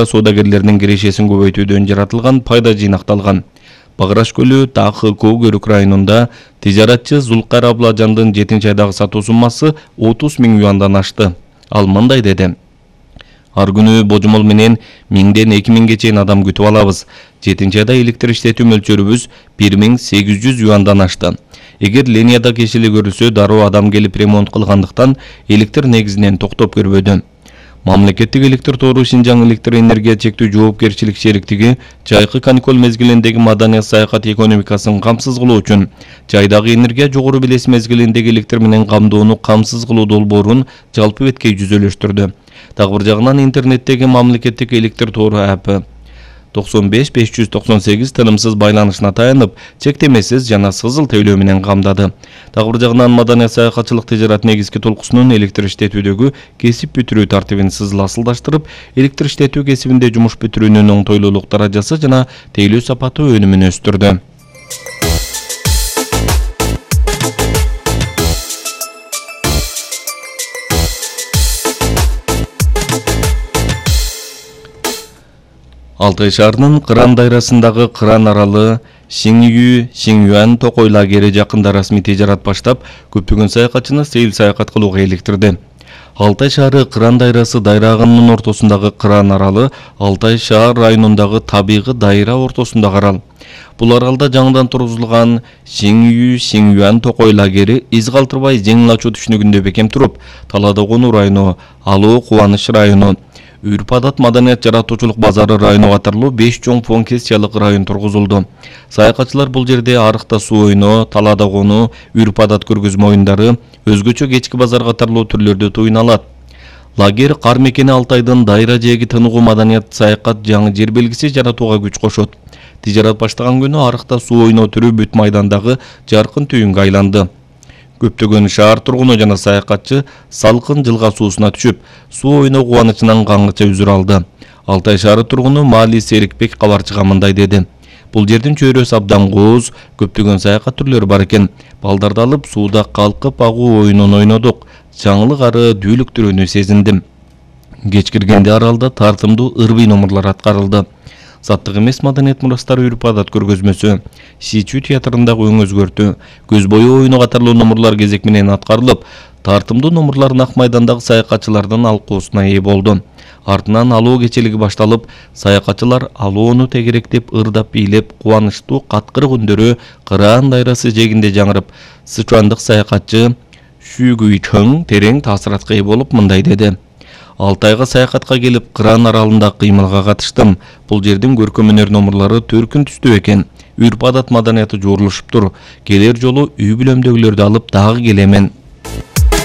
соодагерлердин кирешесин көбөйтүүдөн жаратылган пайда жыйнакталган. Баграш көлү Тахы Көгөрүк районунда тижаратчы Зулкар Абладжандын 7-айдагы сатуу суммасы 30 000 юандан ашты. Ал мындай деди: Ар күнү божомол менен 1000ден 2000ге чейин адам күтүп алабыз. 7-айда электр иштетүү мөлчөрүбүз 1800 юандан ашты. Эгер линияда кешили көрүлсө, дароо адам келип ремонт кылгандыктан электр негизинен токтоп көрбөдү. Мамлекеттик электр тору Шинжаң электр энергия чектүү жоопкерчилик шериктиги жайкы каникул мезгилиндеги маданият саякат экономикасын камсыз кылуу үчүн жайдагы энергия жогору белес мезгилиндеги электр менен камдоону камсыз кылуу долбоорун жалпы бетке жүзөлөштүрдү. Дагы бир жагынан интернеттеги мамлекеттик электр тору апы 95 598 тынымсыз байланышына таянып, чектемесиз жана сызыл тейлөө менен камдады. Дагы бир жагынан маданият саякатчылык тижарат негизги толкусунун электр иштетүүдөгү кесип бүтүрүү тартибин сызыл асылдаштырып, электр иштетүү кесибинде жумуш бүтүрүүнүн оңтойлуулук даражасы жана тейлөө сапаты өнүмүн өстүрдү. Алтай шаарынын Кыран дайрасындагы Кыран аралы Сиңюан Токой лагери жакында расмий тижарат баштап, көптөгөн саякатчыны сейил саякат кылууга иликтирди. Алтай шаары Кыран дайрасы дайрагынын ортосундагы Кыран аралы Алтай шаар районундагы табигый дайра ортосундагы арал. Бул аралда жаңыдан тургузулган Сиңюан Токой лагери из калтырбай жеңил ачуу түшүнүгүндө бекем туруп, Талада Конуу району, Алуу Кубаныч району, Үрп-адат маданият жаратуучулук базары району катарлуу 5 чоң фонкессиялык район тургузулду. Саякатчылар бул жерде арыкта суу ойноо, Талада Конуу, Үрп-адат көргөзмө оюндары, өзгөчө кечки базар катарлуу түрлөрдө туюна алат. Лагер кар мекени Алтайдын дайра жээги тыныгуу маданият саякат жаңы жер белгиси жаратууга күч кошот. Тижарат баштаган күнү арыкта суу ойноо түрү бүт майдандагы жаркын түйүнгө айланды. Көптөгөн шаар тургуну жана саякатчы салкын жылга суусуна түшүп, суу ойноо кубанычынан каңгыча үзүр алды. Алтай шаары тургуну Маали Серикбек кабарчыга мындай деди: Бул жердин чөйрөсү абдан кооз, көптөгөн саякат түрлөрү бар экен. Балдарды алып сууда калкып агуу оюнун ойнодук. Жаңылык ары дүүлүктүрүүнү сезиндим. Кеч киргенде аралда тартымдуу ырбый номурлар аткарылды. Заттык эмес маданият мурастары Үрп-адат көргөзмөсү, Сичүү театрындагы өң өзгөртүү, көз бою оюну катарлуу номурлар кезек менен аткарылып, тартымдуу номурлар Ак майдандагы саякатчылардын алкоосуна ээ болду. Артынан алуу кечелиги башталып, саякатчылар алууну тегеректеп, ырдап бийлеп, кубанычтуу каткырык үндөрү Кыран дайрасы жээгинде жаңырып, сычуандык саякатчы Шүгүйчөң терең таасиратка ээ болуп мындай деди: Алтайга саякатка келип, Кыран аралында кыймылга катыштым. Бул жердин көркөм өнөр номурлары төркүн түстүү экен. Үрп-адат маданияты жуурулушуптур. Келер жолу үй бүлөмдөгүлөрдү алып дагы келемен.